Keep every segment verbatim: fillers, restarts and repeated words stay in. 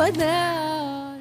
وداع.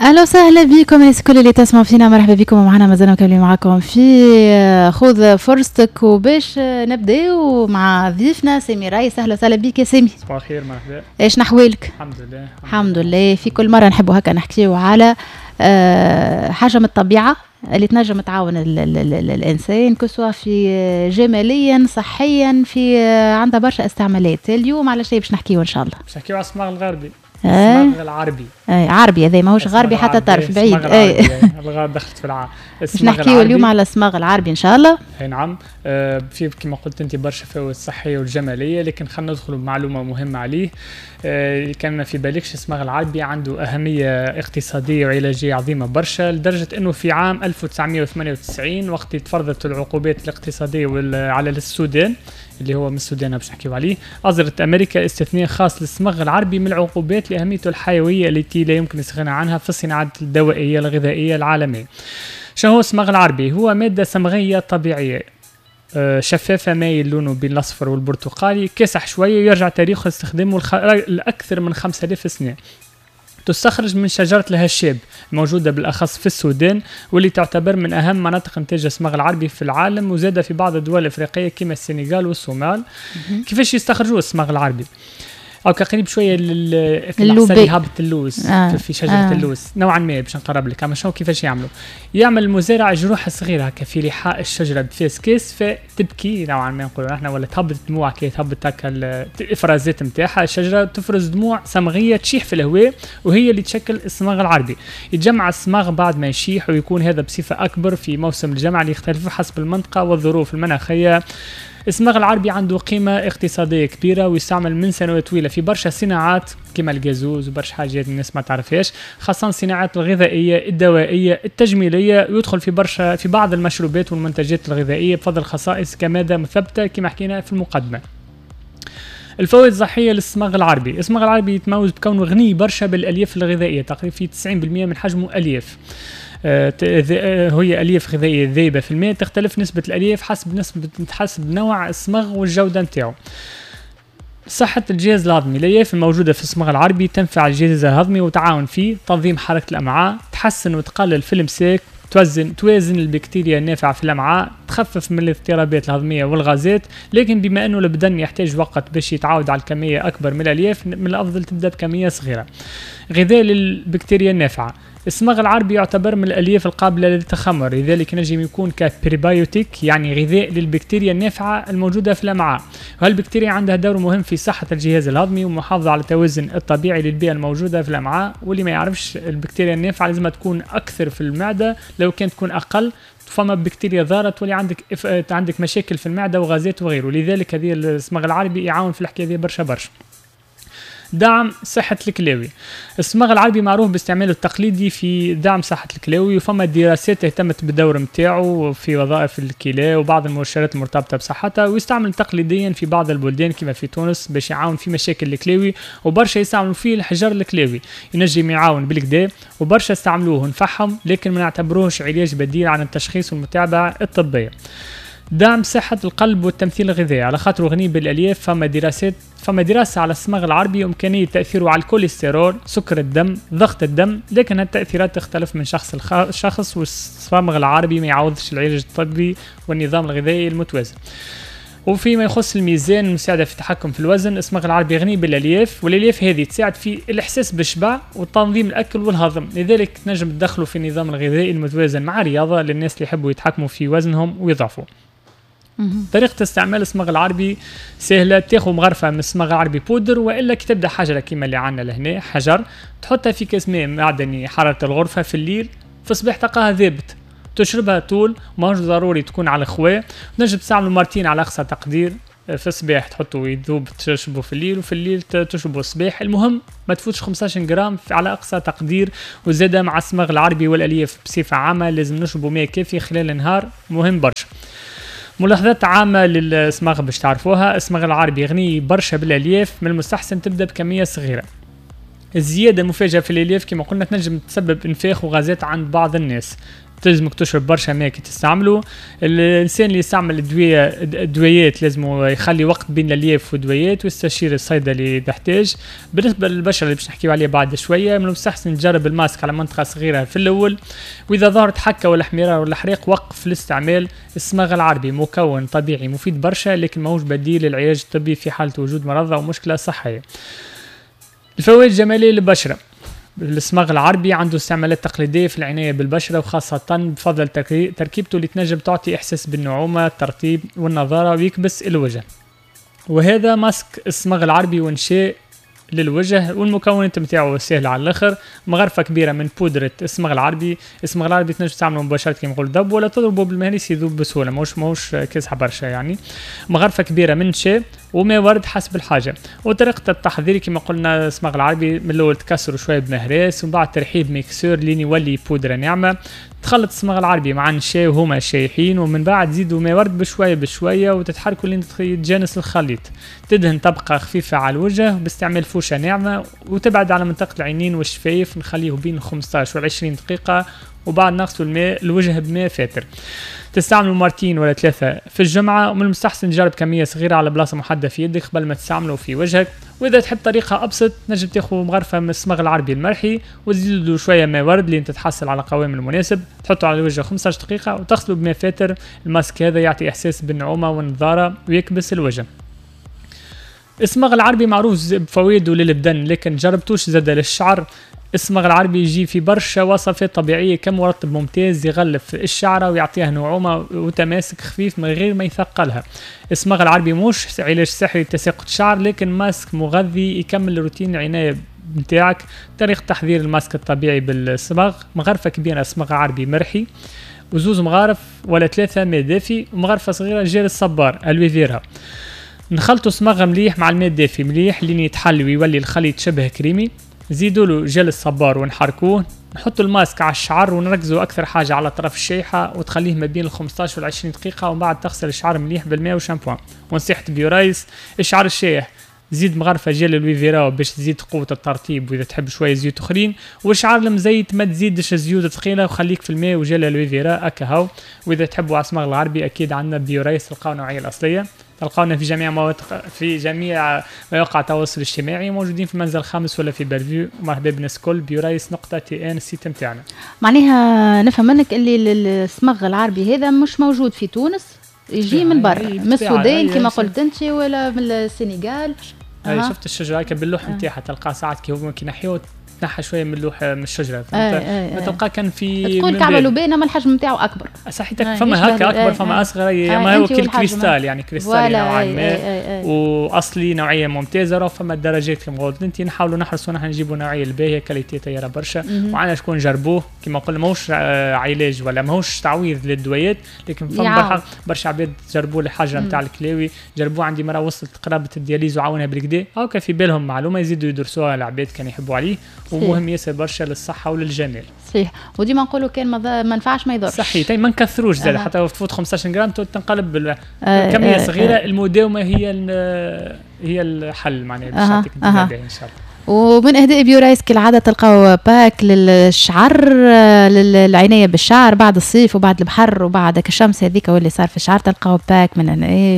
اهلا وسهلا بكم الناس الكل اللي تسمعوا فينا، مرحبا بكم معنا، مازلنا مكملين معكم في خذ فرصتك، وباش نبداو مع ضيفنا سامي رايس. اهلا وسهلا بك يا سامي. صباح الخير، مرحبا. ايش نحوالك؟ الحمد لله. الحمد لله. في كل مرة نحبوا هكا نحكيو على آه، حاجة من الطبيعة اللي تنجم تعاون ال ال ال ال الانسان، que ce soit في جماليا، صحيا، في عندها برشا استعمالات. اليوم على شيء باش نحكيو ان شاء الله؟ باش نحكيو على الصماغ الغربي. آه. الصماغ العربي. اي عربي، هذا ماهوش غربي حتى طرف بعيد. اي الغرب دخلت في الع باش نحكيو اليوم على الصماغ العربي ان شاء الله. اي نعم، آه في كما قلت انت برشا فوائد الصحية والجماليه، لكن خلينا ندخلوا بمعلومة مهمة عليه. آه كان ما في بالكش، الصماغ العربي عنده اهمية اقتصادية وعلاجيه عظيمة برشا، لدرجة انه في عام ألف وتسعمية وثمانية وتسعين وقت تفرضت العقوبات الاقتصادية على السودان، اللي هو من السودان باش نحكيو عليه، اصدرت امريكا استثناء خاص للصمغ العربي من العقوبات لاهميته الحيوية التي لا يمكن الاستغناء عنها في الصناعات الدوائية الغذائية العالمية. شنو هو الصمغ العربي؟ هو مادة صمغيه طبيعية شفافة، مايل لونه بين الاصفر والبرتقالي، كاسح شوية، ويرجع تاريخ استخدامه لاكثر من خمسة آلاف سنة. تستخرج من شجرة الهشاب الموجودة بالأخص في السودان، واللي تعتبر من أهم مناطق إنتاج الصمغ العربي في العالم، وزاد في بعض الدول الأفريقية كما السنغال والصومال. كيفاش يستخرجوا الصمغ العربي؟ أو كقريب شوية للعسل هابط اللوز آه. في شجرة آه. اللوز نوعا ما باش نقرب لك. أما شنو كيفاش يعملوا؟ يعمل المزارع جروح صغيرة هكا في لحاء الشجرة بفاس كاس، فتبكي نوعا ما نقولوا احنا، ولا تهبط دموع كي تهبط هكا الإفرازات نتاعها، الشجرة تفرز دموع صمغية تشيح في الهواء، وهي اللي تشكل الصمغ العربي. يتجمع الصمغ بعد ما يشيح، ويكون هذا بصفة أكبر في موسم الجمع اللي يختلف حسب المنطقة والظروف المناخية. الصمغ العربي عنده قيمة اقتصادية كبيرة، ويستعمل من سنوات طويلة في برشا صناعات كما الجازوز وبرشا حاجات الناس ما تعرفهاش، خاصة الصناعات الغذائية، الدوائية، التجميلية، ويدخل في برشا في بعض المشروبات والمنتجات الغذائية بفضل خصائص كمادة مثبتة كما حكينا في المقدمة. الفوائد الصحية للصمغ العربي، الصمغ العربي يتميز بكونه غني برشا بالألياف الغذائية، تقريبا في تسعين بالمئة من حجمه ألياف. هي ألياف غذائية ذايبة في الماء، تختلف نسبة الألياف حسب نسبة حسب نوع الصمغ والجودة نتاعو. صحة الجهاز الهضمي، الألياف الموجودة في الصمغ العربي تنفع الجهاز الهضمي وتعاون فيه تنظيم حركة الأمعاء، تحسن وتقلل في الإمساك، توازن توازن البكتيريا النافعة في الأمعاء، تخفف من الاضطرابات الهضمية والغازات. لكن بما أنه البدن يحتاج وقت باش يتعود على الكمية أكبر من الألياف، من الأفضل تبدأ بكمية صغيرة. غذاء للبكتيريا النافعة، الصمغ العربي يعتبر من الألياف القابلة للتخمر، لذلك نجم يكون كبريبايوتيك، يعني غذاء للبكتيريا النافعة الموجودة في الأمعاء. وهالبكتيريا عندها دور مهم في صحة الجهاز الهضمي ومحافظة على التوازن الطبيعي للبيئة الموجودة في الأمعاء. واللي ما يعرفش، البكتيريا النافعة لازم تكون أكثر في المعدة، لو كانت تكون أقل فما بكتيريا ضارة تولي عندك إف... عندك مشاكل في المعدة وغازات وغيره. لذلك هذه الصمغ العربي يعاون في الحكاية هذه برشا برشا. دعم صحة الكلاوي، الصمغ العربي معروف باستعماله التقليدي في دعم صحة الكلاوي، وفما دراسات اهتمت بالدور نتاعو في وظائف الكلى وبعض المؤشرات المرتبطة بصحتها، ويستعمل تقليديا في بعض البلدان كما في تونس باش يعاون في مشاكل الكلاوي، وبرشا يستعملوا فيه الحجر الكلاوي، ينجم يعاون بالكدا، وبرشا استعملوه ونفعهم، لكن ما نعتبروهش علاج بديل عن التشخيص والمتابعة الطبية. دعم صحة القلب والتمثيل الغذائي، على خاطره غني بالألياف، فما دراسات فما دراسة على الصمغ العربي وإمكانية تأثيره على الكوليسترول، سكر الدم، ضغط الدم، لكن هالتأثيرات تختلف من شخص لشخص، والصمغ العربي ما يعوضش العلاج الطبي والنظام الغذائي المتوازن. وفيما يخص الميزان المساعدة في التحكم في الوزن، الصمغ العربي غني بالألياف، والألياف هذه تساعد في الإحساس بالشبع وتنظيم الأكل والهضم، لذلك تنجم تدخلوا في النظام الغذائي المتوازن مع رياضة للناس اللي يحبوا يتحكموا في وزنهم ويضعفوا. طريقة استعمال الصمغ العربي سهلة، تاخذ مغرفة من الصمغ العربي بودر، والا كي تبدا حجرة كيما اللي عندنا لهنا حجر، تحطها في كاس ماء معدني حرارة الغرفة في الليل، في الصباح تلقاها ذابت، تشربها طول، ماهوش ضروري تكون على الخواء، تنجم تستعمله مرتين على أقصى تقدير، في الصباح تحطه يذوب تشربه في الليل، وفي الليل تشربه الصباح، المهم ما تفوتش خمسطاش غرام على أقصى تقدير. وزادة مع الصمغ العربي والألياف بصفة عامة لازم نشربوا ماء كافي خلال النهار، مهم برشا. ملاحظات عامة للصمغ باش تعرفوها، الصمغ العربي غني برشا بالألياف، من المستحسن تبدأ بكمية صغيرة. الزيادة المفاجئة في الألياف كما قلنا تنجم تسبب انفاخ وغازات عند بعض الناس. تلزمك تشرب برشا ماء كي تستعمله. الانسان اللي يستعمل الادوية الدويات لازم يخلي وقت بين الالياف والدويات ويستشير الصيدلي اذا احتاج. بالنسبة للبشره اللي باش نحكيو عليها بعد شوية، من المستحسن تجرب الماسك على منطقة صغيرة في الاول، واذا ظهرت حكه ولا احمرار ولا حريق وقف الاستعمال. الصمغ العربي مكون طبيعي مفيد برشا، لكن ماهوش بديل للعلاج الطبي في حاله وجود مرض او مشكلة صحية. الفوائد الجمالية للبشره، الصمغ العربي عنده استعمالات تقليدية في العناية بالبشرة، وخاصة بفضل تركيبته اللي تنجم تعطي إحساس بالنعومة، الترطيب والنضارة ويكبس الوجه. وهذا ماسك الصمغ العربي ونشاء للوجه، والمكونات نتاعو سهلة على الاخر. مغرفه كبيرة من بودره الصمغ العربي، الصمغ العربي تنجم تستعمله مباشرة كيما نقول ذب، ولا تضربه بالمهريس يذوب بسهولة، ماهوش ماهوش كاسحه برشا يعني. مغرفه كبيرة من نشا وماء ورد حسب الحاجة. وطريقه التحضير كما قلنا، الصمغ العربي من الاول تكسره شوية بمهراس، ومن بعد ترحيه ب mixeur لين يولي بودره ناعمة. تخلط الصمغ العربي مع النشا وهما شايحين، ومن بعد تزيدوا ماء ورد بشوية بشوية وتتحركوا لين يتجانس الخليط. تدهن طبقه خفيفة على الوجه باستعمال فوشه ناعمة، وتبعد على منطقة العينين والشفايف، نخليه بين خمسطاش و عشرين دقيقة، وبعد نغسلوا الماء الوجه بماء فاتر. تستعملوا مرتين ولا ثلاثة في الجمعة، ومن المستحسن تجرب كمية صغيرة على بلاصة محددة في يدك قبل ما تستعمله في وجهك. وإذا تحب طريقة أبسط، نجم تاخذ مغرفة من الصمغ العربي المرحي وتزيد له شوية ماء ورد لين تتحصل على القوام المناسب، تحطه على الوجه خمسطاش دقيقة وتغسله بماء فاتر. الماسك هذا يعطي إحساس بالنعومة والنضارة ويكبس الوجه. الصمغ العربي معروف بفوائده للبدن، لكن جربتوش زاد للشعر. الصمغ العربي يجي في برشا وصفات طبيعية كمرطب ممتاز يغلف الشعرة ويعطيها نعومة وتماسك خفيف من غير ما يثقلها. الصمغ العربي مش علاج سحري لتساقط الشعر، لكن ماسك مغذي يكمل روتين العناية نتاعك. طريقة تحضير الماسك الطبيعي بالصمغ: مغرفة كبيرة صمغ عربي مرحي، وزوز مغارف ولا ثلاثة ماء دافي، ومغرفة صغيرة جيل الصبار aloe vera. نخلطوا صمغ مليح مع الماء الدافي مليح لين يتحل ويولي الخليط شبه كريمي. زيدوا له جل الصبار ونحركوه. نحطوا الماسك على الشعر ونركزوا اكثر حاجة على طرف الشيحه، وتخليه ما بين ال خمسطاش وال عشرين دقيقة، ومن بعد تغسل الشعر مليح بالماء وشامبوان. ونصيحة بيورايس، الشعر الشايح زيد مغرفه gel aloe vera باش تزيد قوة الترطيب، واذا تحب شوية زيوت اخرين. والشعر المزيت ما تزيدش زيوت ثقيلة، وخليك في الماء و gel aloe vera اكا هاو. واذا تحبوا على الصمغ العربي اكيد عندنا بيورايس، تلقاو النوعية الاصلية، تلقاونا في جميع مواقع في جميع مواقع التواصل الاجتماعي، موجودين في المنزل الخامس ولا في بلفيو. مرحبا بالناس الكل. بيورايس نقطة tn ال site نتاعنا. معناها نفهم منك اللي الصمغ العربي هذا مش موجود في تونس، يجي من برا، من السودان كما قلت انت ولا من السنغال. اي شفت الشجرة هكا باللوح نتاعها، تلقاه ساعات كي هو كي نحيوه تنحى شوية من اللوح من الشجرة، فهمت؟ ما تلقاه كان في تقول كعبه لبانه، ما الحجم نتاعو اكبر. صحيح، فما هكا اكبر، فما اصغر، ما هو كالكريستال يعني، كريستالي نوعا ما، واصلي نوعية ممتازة. راه فما الدرجات كما قلت انت، نحاولوا نحرصوا نحن نجيبوا نوعية الباهيه، qualité طيارة برشا، وعندنا شكون جربوه كما قلنا، ماهوش علاج ولا ماهوش تعويض للدويات، لكن فما برشا عباد جربوه الحاجة نتاع الكلاوي، جربوه عندي مرة وصلت قرابة ال dialyse وعاونها بالكدا، هاكا في بالهم معلومة يزيدوا يدرسوها العباد كان يحبوا عليه، ومهم ياسر برشا للصحة وللجمال. صحيح، وديما نقولوا كان ما نفعش ما يضرش. صحيح، ما نكثروش زاد، أه. حتى تفوت خمسطاش غرام تنقلب آه كمية آه صغيرة. آه. المداومة هي هي الحل معناها باش يعطيك أه. ان شاء الله. ومن اهداء بيورايس كالعادة تلقاو pack للشعر، للعنايه بالشعر بعد الصيف وبعد البحر وبعد الشمس هذيك واللي صار في الشعر، تلقاو pack من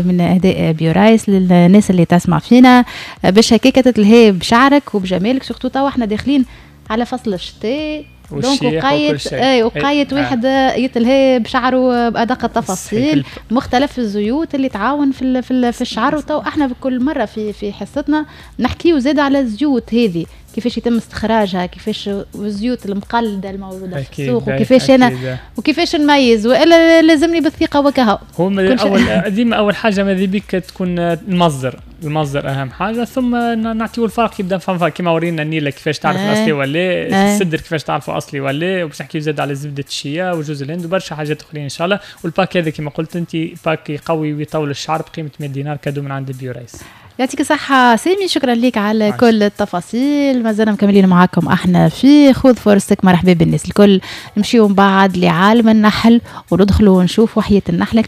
من اهداء بيورايس للناس اللي تسمع فينا باش هكاك تتلهي بشعرك وبجمالك، surtout توا احنا داخلين على فصل الشتاء، donc وقايت اي وقايت واحد يتلهي بشعره بادق التفاصيل، مختلف الزيوت اللي تعاون في في, في الشعر. وتو احنا بكل مرة في في حصتنا نحكيو زاد على الزيوت هذه كيفاش يتم استخراجها، كيفاش الزيوت المقلده الموجودة في السوق، وكيفاش انا وكيفاش نميز، والا لازمني بالثقة وكهو. هو اول ديما اول حاجة ماذا بك تكون المصدر، المصدر اهم حاجة، ثم نعطيو الفرق يبدا فهم كيما ورينا النيله كيفاش تعرف الاصلي ولا السدر كيفاش تعرفوا اصلي ولا، وباش نحكيو زاد على زبدة الشيا وجوز الهند وبرشا حاجات اخرين ان شاء الله. وال pack هذا كيما قلت انت pack يقوي ويطول الشعر بقيمة مية دينار، cadeau من عند بيورايس. يعطيك الصحة سامي، شكرا لك على عايش. كل التفاصيل. مازلنا مكملين معاكم احنا في خذ فرصتك. مرحبا بالناس الكل. نمشيو من بعد لعالم النحل وندخلوا ونشوفوا حياة النحلة.